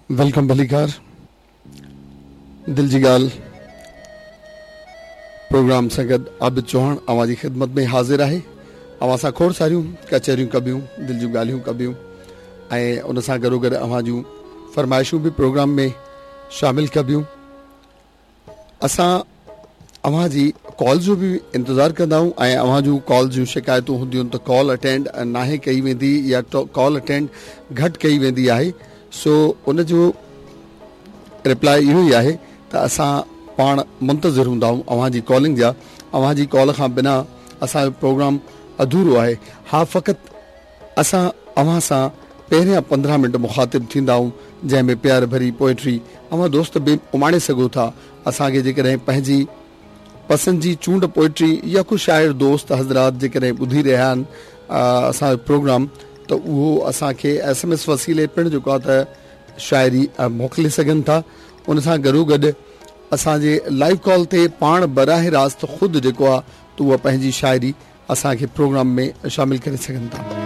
Welcome ڀليڪار دل جي ڳالهه پروگرام سان گڏ عابد چوهاڻ اوهان جي خدمت ۾ حاضر آهي اوهان سان کوڙ ساريون ڪچهريون ڪبيون دل جون ڳالهيون ڪبيون ۽ ان سان گڏو گڏ اوهان جون فرمائشون به پروگرام ۾ شامل ڪبيون اسان اوهان جي ڪال جو به انتظار ڪندا آهيون ۽ اوهان جون ڪال جون شڪايتون هونديون ته ڪال اٽينڊ ناهي ڪئي ويندي يا ڪال اٽينڊ گهٽ ڪئي ويندي آهي سو ان جو رپلاء اهو ئي آهي ته اسان پاڻ منتظر هوندا آهيون اوهان جي ڪالنگ جا اوهان جي ڪال کان بنا اسان جو پروگرام اڌورو آهي ها فقط اسان اوهان سان پهريان 15 منٽ مخاطب ٿيندا آهيون جنهن ۾ پيار ڀري پوئٽري اوهان دوست به اماڻي سگهو ٿا اسان کي جيڪڏهن پنهنجي پسند جي چونڊ پوئٽري يا ڪو شاعر دوست حضرات جيڪڏهن ٻڌي رهيا آهن اسان جو پروگرام ته اهو اسان کي ايس ايم ايس وسيلي پڻ جيڪو آهي ته شاعري موڪلي سگهن ٿا ان سان گڏو گڏ اسان جي لائيو ڪال تي پاڻ براهه راست خود جيڪو آهي ته اها پنهنجي شاعري اسان کي پروگرام ۾ شامل ڪري سگهن ٿا.